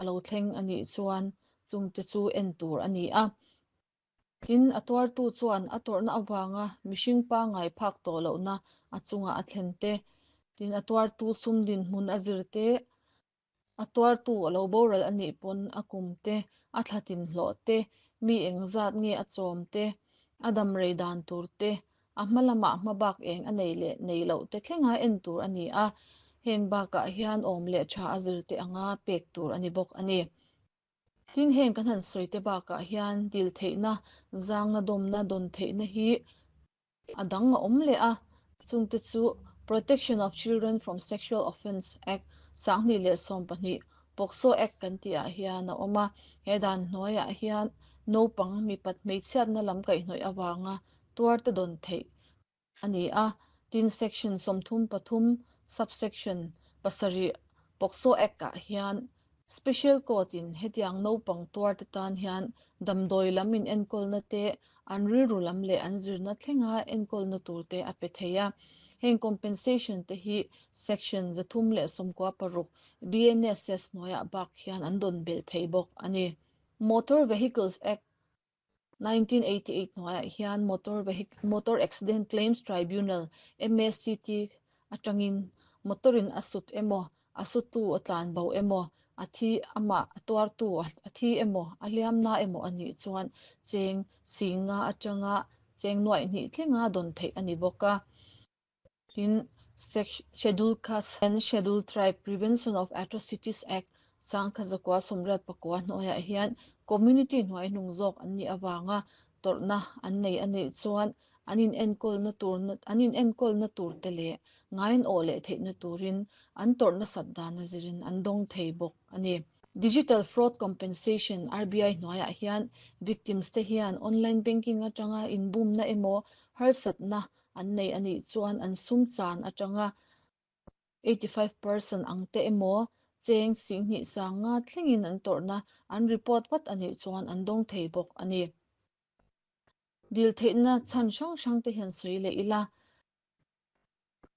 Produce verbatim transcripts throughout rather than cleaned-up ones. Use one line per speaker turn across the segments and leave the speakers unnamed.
A lo thleng a nih chuan chungte chu en tur a ni a. Tin, a tuartu chuan a tawrhna avanga mihring pangai phak tawh lohna a chunga a thlen te, tin a tuartu sum dinhmun a zir te, a tuartu a lo boral a nih pawn a kum te, a thlatin hlawh te, mi engzat nge a chawm te, a dam rei dan tur te, a hma lamah hmabak eng a nei leh nei loh te thlenga en tur a ni a. Heng bakah hian awm leh tha a zir te anga pek tur a ni bawk a ni. Tin, heng kan han sawi te bakah hian dil theihna, zangna dawmna dawn theihna hi a dang a awm leh a. Chungte chu Protection of Children from Sexual Offence Act sanghnih leh sawm pahnih, POCSO Act kan tihah hian a awm a. He dan hnuaiah hian naupang mipat hmeichhiatna lam kaihhnawih avanga tuarte dawn theih a ni a. Tin, section sawmthum pathum subsection pasarih POCSO Act ah hian Special Court in hetiang naupang tuarte tan hian damdawi lam in enkawlna te, an rilru lam leh an zirna thlenga enkawlna tur te a pe thei a. Heng compensation te hi section zathum leh sawmkua paruk B N S S hnuaiah bak hian an dawn belh thei bawk a ni. Motor Vehicles Act nineteen eighty-eight hnuaiah hian Motor Vehic Motor Accident Claims Tribunal, M A C T atangin motorin a sut emaw, a sutu a tlan bo emaw, a thi amah a tuartu a thi emaw, a hliamna emaw a nih chuan cheng singa atanga cheng nuaih hnih thlenga dawn theih a ni bawk a. Tin, Scheduled Caste and Scheduled Tribe Prevention of Atrocities Act sangkhat zakua sawmriat pakua hnuaiah hian community hnuai hnung zawk an nih awanga tawrhna an nei a nih chuan an in enkawlna tur an in enkawlna tur te leh ngaiin awh leh theihna turin an tawrhna sat dan a zirin an dawng thei bawk a ni. Digital Fraud Compensation R B I hnuaiah hian victims te hian online banking atanga inbumna emaw harsatna an nei a nih chuan an sum chan atanga eighty-five percent ang te emaw, cheng singhnih sanga thlengin an tawrhna an report vat a nih chuan an dawng thei bawk a ni. Dil theihna chhan hrang hrang te hian sawi leh ila.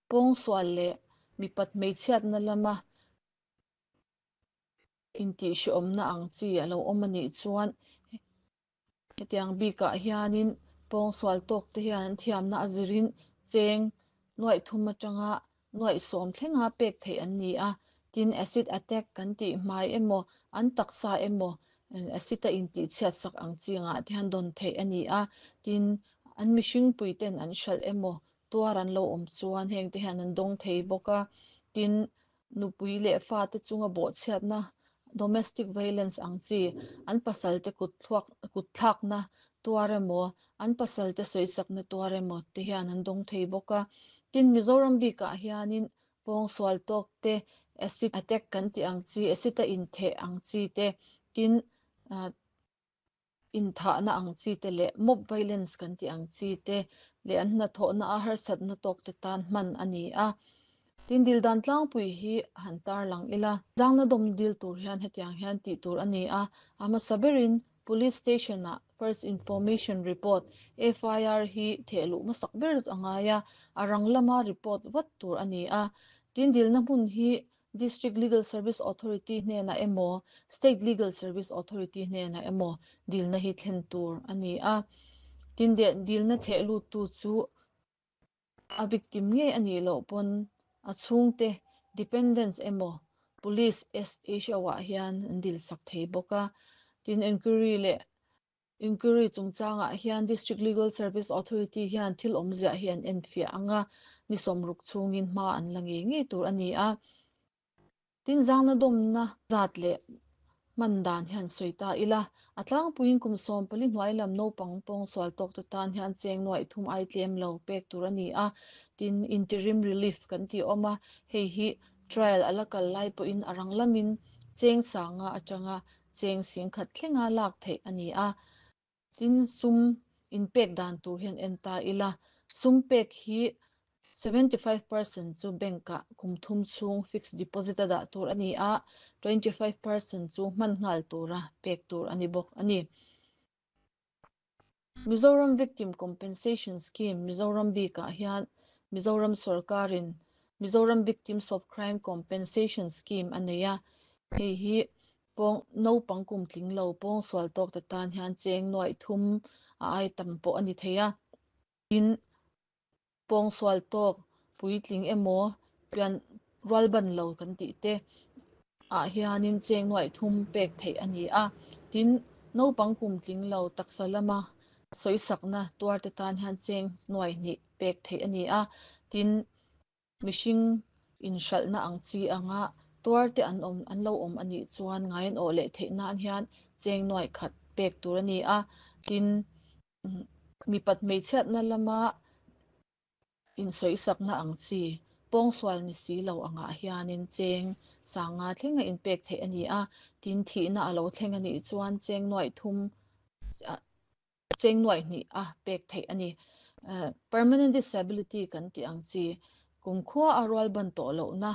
Pawngsual leh mipat hmeichhiatna lama intihhreawmna ang chi a lo awm a nih chuan hetiang bikah hianin pawngsual tawk te hian an thiamna a zirin cheng nuaih thum atanga nuaih sawm thlenga pek theih an ni a. Tin, acid attack kan tih hmai emaw, an taksa emaw acid a intihchhiat sak ang chi angah te hian dawn theih a ni a. Tin, an mihring puiten an hralh emaw tuar an lo awm chuan heng te hian an dawng thei bawk a. Tin, nupui leh fa te chunga bawhchhiatna, domestic violence ang chi, an pasal te kut thluak kut thlakna tuar emaw, an pasal te sawisakna tuar emaw te hian an dawng thei bawk a. Tin, Mizoram bikah hianin pawngsual tawk te, acid attack kan tih ang chi, acid a intheh ang chi te, tin inthahna ang chi te leh mob violence kan tih ang chi te leh an hnathawhna a harsatna tawk te tan hman a ni a. Tin, dil dan tlangpui hi han tar lang ila. Zangna dawm dil tur hian hetiang hian tih tur a ni a. A hmasa berin police station ah first information report, F I R hi thehluh hmasak ber a ngai a, a rang lama report vat tur a ni a. Tin, dilna hmun hi District Legal Service Authority hnenah emaw, State Legal Service Authority hnenah emaw dilna hi thlen tur a ni a. Tin, dilna thehlut tu chu a victim ngei a nih loh pawn a chhungte, dependents emaw, police S H O ah hian an dil sak thei bawk a. Tin, inquiry leh inquiry chungchangah hian District Legal Service Authority hian thil awmziah hi an enfiah anga, ni sawmruk chhungin hma an la ngei ngei tur a ni a. Tin, zangna dawmna zat leh hman dan hian sawi ta ila. A tlangpuiin kum sawm pali hnuai lam naupang pawngsual tawk te tan hian cheng nuaih thum ai tlem lo pek tur a ni a. Tin, interim relief kan tih awm a, hei hi trial a la kal lai pawhin a rang lamin cheng sanga atanga cheng singkhat thlenga lak theih a ni a. Tin, sum inpek dan tur hian en ta ila. Sum pek hi seventy-five percent chu bank ah kum thum chhung fixed deposit a dah tur a ni a, twenty-five percent chu hman nghal tura pek tur a ni bawk a ni. Mizoram Victim Compensation Scheme. Mizoram bikah hian Mizoram sarkarin Mizoram Victims of Crime Compensation Scheme a nei a. Hei hi Pawng naupang kum tling lo pawngsual tawk te tan hian cheng nuai thum a ai tam pawh a ni thei a. Tin, pawngsual tawk puitling emaw pian rualban lo kan tih te ah hianin cheng nuai thum pek theih a ni a. Tin, naupang kum tling lo taksa lama sawisakna tuar te tan hian cheng nuai hnih pek theih a ni a. Tin, mihring inhralhna ang chi anga tuar te an awm an lo awm a nih chuan ngai an awh leh theih nan hian cheng nuai khat pek tur a ni a. Tin, mipat hmeichhiatna lama insawisakna ang chi pawngsual ni si lo angah hianin cheng sanga thlenga inpek theih a ni a. Tin, thihna a lo thleng a nih chuan cheng nuai thum cheng nuai hnih a pek theih a ni. Permanent disability kan tih ang chi kumkhua a rual ban tawh lohna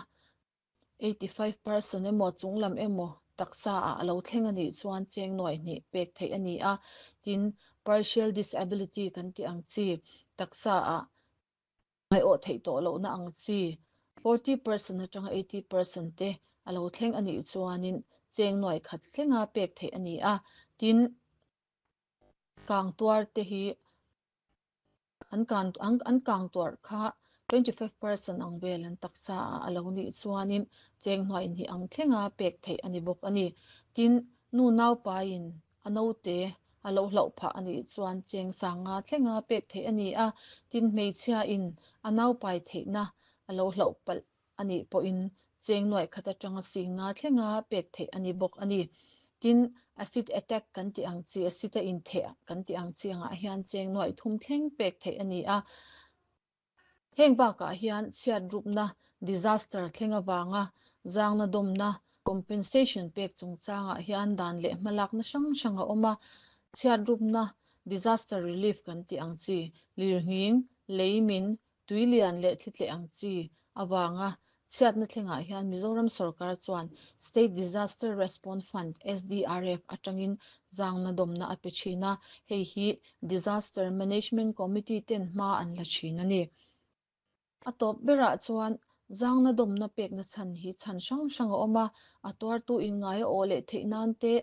eighty-five percent emaw chunglam emaw taksa ah a lo thleng a nih chuan cheng nuai hnih pek theih a ni a. Tin, partial disability kan tih ang chi taksa ah ngai awh theih tawh lohna ang chi forty percent atanga eighty percent te a lo thleng a nih chuanin cheng nuai khat thlenga pek theih a ni a. Tin, kang tuar te hi an kan an an kang tuar kha twenty-five percent ang vel an taksa ah a lo nih chuanin cheng nuai hnih ang thlenga pek theih a ni bawk a ni. Tin, nu naupain a naute a lo hlauh phah a nih chuan cheng sanga thlenga pek theih a ni a. Tin, hmeichhia in a naupai theihna a lo hlauh palh a nih pawhin cheng nuai khat atanga singa thlenga pek theih a ni bawk a ni. Tin, acid attack kan tih ang chi acid a intheh kan tih ang chi angah hian cheng nuai thum thleng pek theih a ni a. Heng bakah hian chhiat rupna disaster thleng awanga zangna dawmna compensation pek chungchangah hian dan leh hmalakna hrang hrang a awm a. Chhiat rupna disaster relief kan tih ang chi lirnghing, leimin, tuilian leh thli ang chi awanga chhiatna thlengah hian Mizoram Sarkar chuan State Disaster Response Fund S D R F atangin zangna dawmna a pe thin a. Hei hi Disaster Management Committee ten hma an la thin a ni. A tawp berah chuan zangna dawmna pekna chhan hi chhan hrang hrang a awm a. A tuartu in ngai a awh leh theih nan te,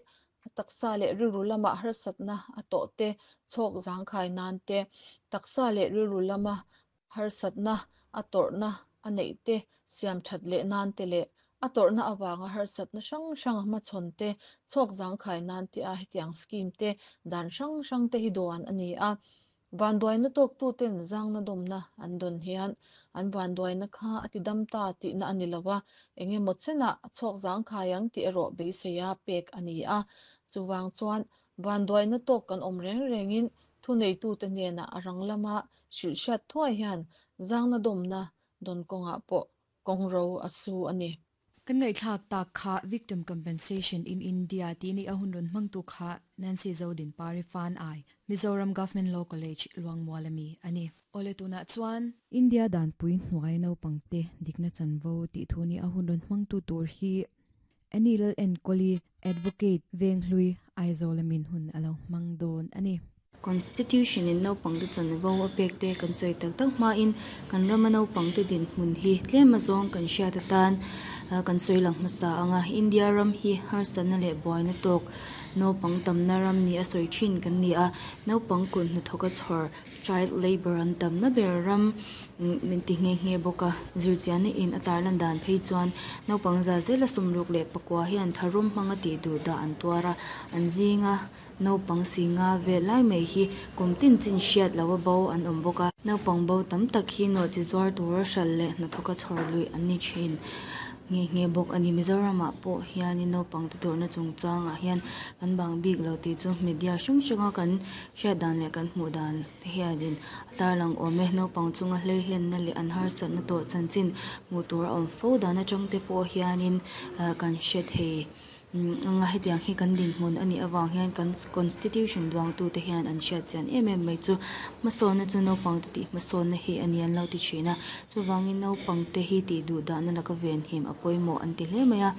a taksa leh rilru lama harsatna a tawh te, chhawk zangkhai nan te, taksa leh rilru lama harsatna a tawrhna a neih te, siam that leh nan te leh a tawrhna awanga harsatna hrang hrang hmachhawn te, chhawk zangkhai nan te a hetiang scheme te dan hrang hrang te hi duan a ni a. Vanduaina tawktu ten zangna dawmna an dawn hian an vanduaina kha a ti dam ta tihna a ni lova, engemaw chenah a chhawk zangkhai ang tih erawh beiseia pek a ni a. Chuwang chuan vanduaina tawk kan awm reng rengin thuneitu te hnenah a rang lama hrilhhriat thuai hian zangna dawmna dawn kawngah pawh kawngro a su a ni.
Kan ngai thlak tak kha Victim Compensation in India ti ni a hun run hmangtu kha Nancy Zodin Pari Fan Ai Mizoram Government Law College Luangmualami ani. Ole tuna chuan India dan pui hnuai naupangte dikna chanvo ti thu ni a hun run hmangtu tur hi Anil N Koli Advocate Venghlui Aizawl min hun alo hmang dawn ani.
Constitution in naupangte chanvo a pek te kan sawi tak tak hmain kan rama naupangte dinhmun hi tlem azawng kan hriat atan kan sawi lang hmasa anga India ram hi harsatna leh buaina tawk naupang tamna ram ni a sawi thin kan ni a. Naupang kun hnathawk a chhawr child labor an tamna ber ram min ti nghe nghe bawk a. Zirchianna in a tarlan dan phei chuan naupang za zela sawmruk leh pakua hian tharum hmanga tih duh dah an tuar a. An zinga naupang singa vel lai mai hi kum tin chin hriat lo a bo an awm bawk a. Naupang bo tam tak hi nawh chi zuar tura hral leh hnathawk a chhawr lui an ni thin nghe nghe bawk a ni. Mizoramah pawh hianin naupang te tawrhna chungchangah hian kan bang bik lo tih chu media hrang hranga kan hriat dan leh kan hmuh dan te hianin a tarlang awm e. Naupang chunga hleihlenna leh an harsatna tawh chanchin hmuh tur a awm fo dan atang te pawh hianin kan hre thei anga hetiang hi kan dinhmun a nih awang hian kan constitution duangtu te hian an hriat chian em em mai chu hmasawnna chu naupang te tih hmasawnna hi a ni an lo ti thin a. Chuvangin naupang te hi tih duh dahna laka venhim a pawimawh an ti hle mai a.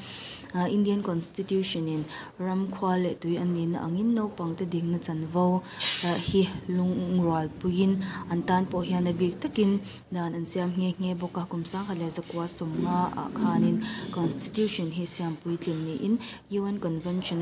Indian Constitution in ram khua leh tui an nihna angin naupang te dikna chanvo hi lungrual puiin an tan pawh hian a bik takin dan an siam nghe nghe bawk a. Kum sangkhat leh zakua sawmnga ah khanin Constitution hi siam puitlin niin U N Convention